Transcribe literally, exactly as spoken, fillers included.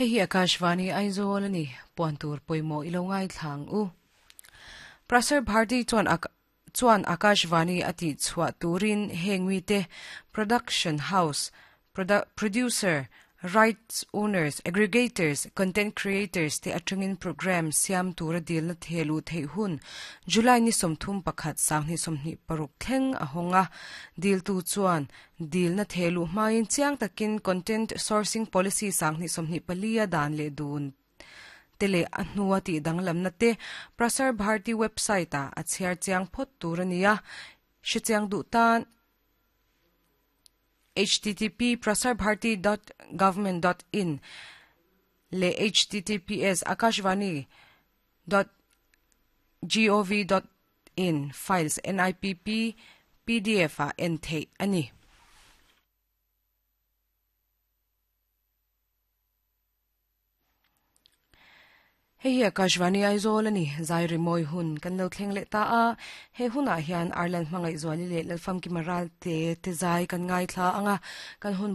Hei hi Akashvani Aizawl ani puan tur pawimawh ilo ngai thlang u. Prasar Bharti chuan ak chuan Akashvani ati chhuah turin heng mi te production house produ producer rights owners aggregators content creators te atangin program siam tura dil na thelu thei hun July ni somthum pakhat sanghni somhni paruk thleng a honga dil tu chuan dil na thelu hmain chiang takin content sourcing policy sanghni somhni palia dan le dun tele a hnuwa ti danglam na te Prasar Bharti website a a chhiar chiang phot tur ania hre chiang duh tan http prasarbharti dot government dot in le https akashvani dot gov dot in files nipp pdf a en thei ani. Hei hi Akashvani Aizawl ani zai rimoi hun kan lo thleng leh ta a he hunah hian Ireland hmangaih zuali leh lalfam ki maral te te zai kan ngai thla anga kan hun